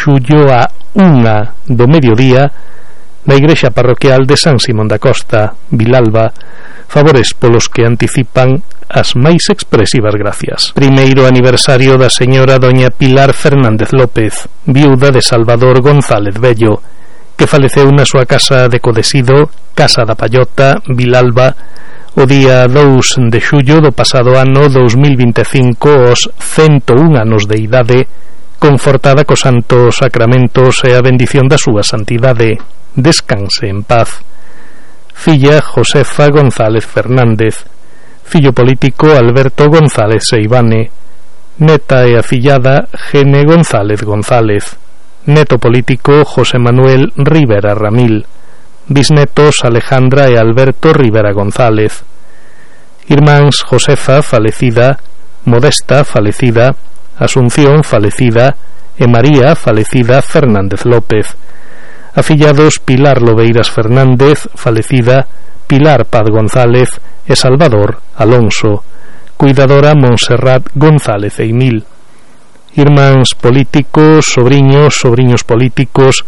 xullo a 1 do mediodía na igrexa parroquial de San Simón da Costa, Vilalba, favores polos que anticipan as máis expresivas gracias. Primeiro aniversario da señora doña Pilar Fernández López, viuda de Salvador González Bello, que faleceu na súa casa de Codesido, Casa da Pallota, Vilalba, o día 2 de xullo do pasado ano 2025 aos 101 anos de idade, confortada cos santos sacramentos e a bendición da súa santidade. Descanse en paz. Filla Josefa González Fernández, fillo político Alberto González Seivane, neta e afillada Gene González González, neto político José Manuel Rivera Ramil, bisnetos Alejandra e Alberto Rivera González, irmáns Josefa falecida, Modesta falecida, Asunción falecida e María falecida Fernández López, afillados Pilar Lobeiras Fernández falecida, Pilar Paz González e Salvador Alonso, cuidadora Montserrat González Eimil, irmáns políticos, sobriños políticos,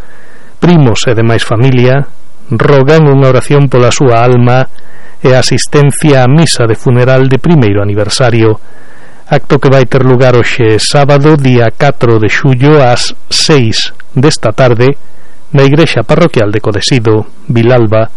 primos e demais familia, rogan unha oración pola súa alma e a asistencia á misa de funeral de primeiro aniversario, acto que vai ter lugar hoxe sábado, día 4 de xullo ás 6 desta tarde na igrexa parroquial de Codesido, Vilalba,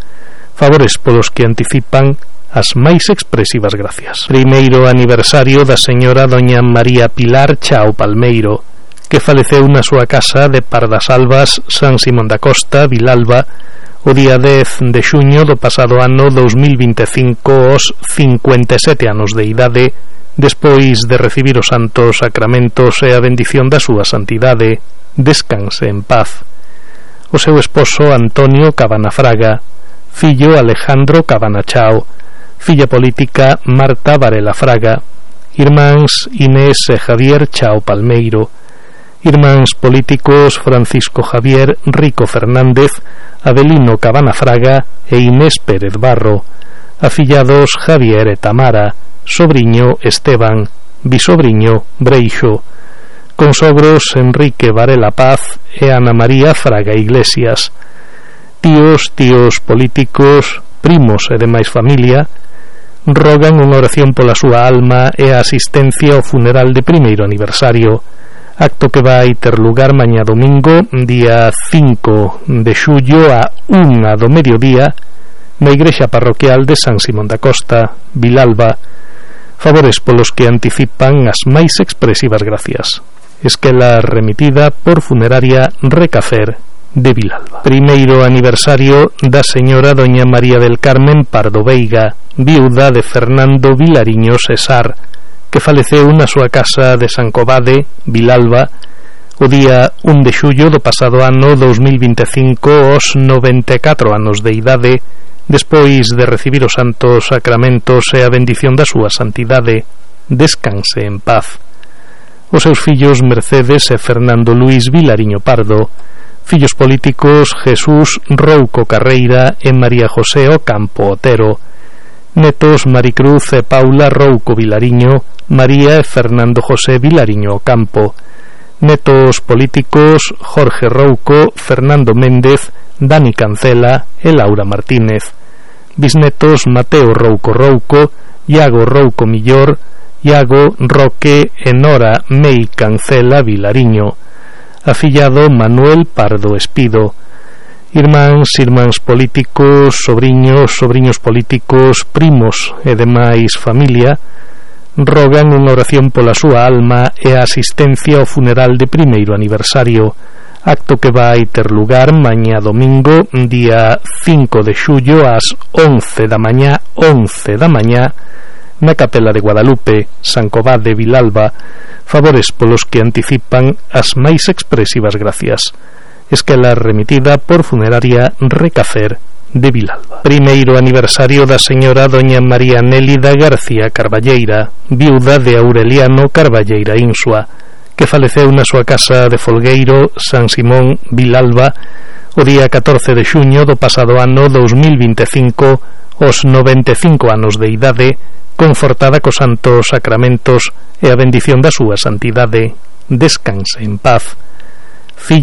favores polos que anticipan as máis expresivas gracias. Primeiro aniversario da señora doña María Pilar Chao Palmeiro, que faleceu na súa casa de Pardasalvas, San Simón da Costa, Vilalba, o día 10 de xuño do pasado ano 2025 aos 57 anos de idade, despois de recibir os santos sacramentos e a bendición da súa santidade. Descanse en paz. O seu esposo Antonio Cabana Fraga, fillo Alejandro Cabana Chao, filla política Marta Varela Fraga, irmáns Inés e Javier Chao Palmeiro, irmáns políticos Francisco Javier Rico Fernández, Avelino Cabana Fraga e Inés Pérez Barro, afillados Javier e Tamara, sobriño Esteban, bisobriño Breixo, consogros Enrique Varela Paz e Ana María Fraga Iglesias, tíos políticos, primos e demais familia, rogan unha oración pola súa alma e a asistencia ao funeral de primeiro aniversario, acto que vai ter lugar mañá domingo, día 5 de xullo a 1 do mediodía na igrexa parroquial de San Simón da Costa, Vilalba, favores polos que anticipan as máis expresivas gracias. Esquela remitida por Funeraria Recafer de Vilalba. Primeiro aniversario da señora doña María del Carmen Pardo Veiga, viuda de Fernando Vilariño Cesar, que faleceu na súa casa de San Covade, Vilalba, o día 1 de xullo do pasado ano 2025 aos 94 anos de idade, despois de recibir os santos sacramentos e a bendición da súa santidade. Descanse en paz. Os seus fillos Mercedes e Fernando Luís Vilariño Pardo, fillos políticos Jesús Rouco Carreira e María José Ocampo Otero, netos Maricruz e Paula Rouco Vilariño, María e Fernando José Vilariño Ocampo, netos políticos Jorge Rouco, Fernando Méndez, Dani Cancela e Laura Martínez, bisnetos Mateo Rouco Rouco, Iago Rouco Millor, Iago Roque e Nora Mei Cancela Vilariño, afillado Manuel Pardo Espido, irmáns políticos, sobriños políticos, primos e demais familia, rogan unha oración pola súa alma e a asistencia ao funeral de primeiro aniversario, acto que vai ter lugar mañá domingo, día 5 de xullo ás 11 da mañá, na Capela de Guadalupe, San Covade, Vilalba, favores polos que anticipan as máis expresivas gracias. Esquela remitida por Funeraria Recafer de Vilalba. Primeiro aniversario da señora doña María Nélida García Carballeira, viuda de Aureliano Carballeira Insua, que faleceu na súa casa de Folgueiro, San Simón, Vilalba, o día 14 de xuño do pasado ano 2025, aos 95 anos de idade, confortada cos santos sacramentos e a bendición da súa santidade. Descanse en paz. Filla